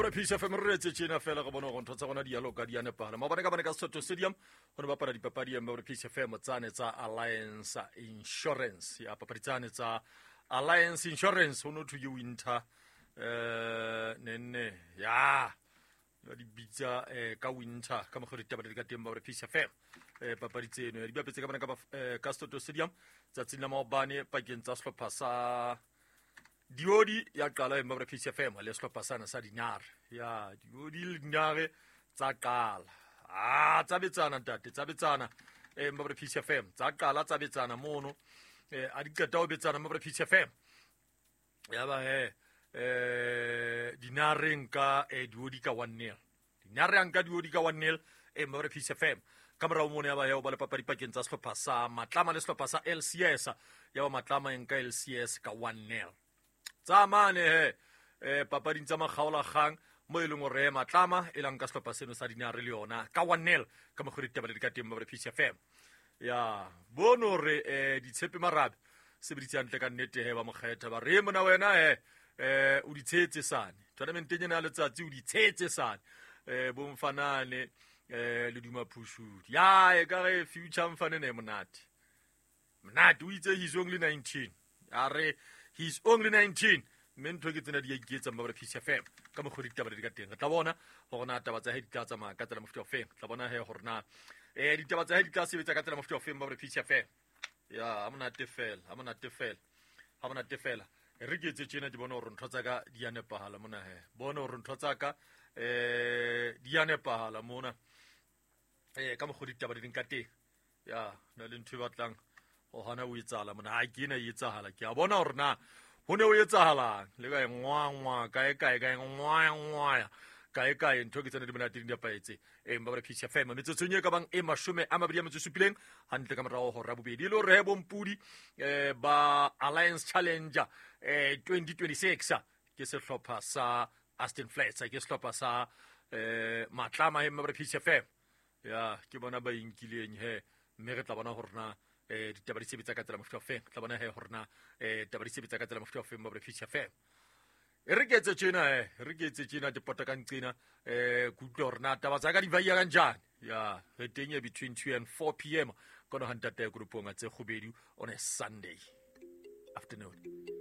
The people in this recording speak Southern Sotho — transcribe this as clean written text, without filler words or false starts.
Mabra Peace FM re retse tjena fela go bona gore ntho tsa gona di yalo ka di a nepagala. Maobane ka bane ka Soto Stadium go ne bapala dipapadi ya Mabra Peace FM tsane tsa Alliance Insurance. Ya papadi tsane tsa Alliance Insurance ho no thwe ke winter nenne ya ba di bitsa ka winter ka mokgwa ditaba di ka teng ba Peace FM papadi tseno di bapetse ka bana ka ka Soto Stadium tsatsing la maobane pakeng tsa sehlopha sa Diodi ya qala e Mabra Peace FM le sehlopha sana sa Dinare ya Diodi le Dinare tsa qala ah tsa betsana ntate tsa betsana Mabra Peace FM tsa qala tsa betsana mono a di qeta ho betsana Mabra Peace FM ya ba he Dinare nka Diodi ka 1-0 Dinare a nka Diodi ka 1-0 Mabra Peace FM ka morao mono ya ba ya ba le papadi pakeng tsa sehlopha sa Matlama le sehlopha sa LCS ya ba Matlama e nka LCS ka 1-0 tsa mane he papading tsa makgaolakgang mo e leng hore Matlama e lang ka sehlopha seno sa Dinare le yona ka 1-0 ka mokgwa ditaba di ka teng Mabra Peace FM ya bono re ditshepe marabe sebeditse hantle ka nnete he ba mokgetha ba re mona wena he o di tshetse sane tournamenteng ena ya letsatsi o di tshetse sane bomfanane le duma phushudi ya e ka re future mfane ne monate monate o itse he's only 19 a re he's only 19 mme ntho ke tsena di ya iketsang ba Peace FM ka mokgwa ditaba di ka teng re tla bona gore na taba tsa he di tla tsamaya ka tsela mofuta o feng tla bona he gore na ditaba tsa he di tla sebetsa ka tsela mofuta o feng ba Peace FM ya ha monate fela ha monate fela ha monate fela re ke etse tjena ke bone hore ntho tsa ka di a nepahala mona he bone hore ntho tsa ka di a nepahala mona ka mokgwa ditaba di leng ka teng ya na le ntho e batlang ho hana o etsahala mona ha ke ena e etsahala ke a bona hore na ho ne o etsahalang le ka e ngwangwa kae kae kae ngwangwaya kae kae ntho ke tsena di monate di nepahetse Mabra Peace FM metsotsong e ka bang e 27 hantle ka morao hora bobedi le hore bompudi ba Alliance Challenger 2026 ke sehlopha sa Aston Flats ke sehlopha sa Matlama Mabra Peace FM ya ke bona ba inkileng he mme re tla bona hore na ditaba di sebetsa ka tsela mofuta o feng tla bona he hore na taba di sebetsa ka tsela mofuta o feng Mabra Peace FM e re ke etse tjena re ke etse tjena ke pota ka nqena ke utlwe hore na taba tsa ka di vaia kanjani ya re teng e between 2 and 4 p.m. kono ha ntate ya koropong a tse kgubedu on a Sunday afternoon.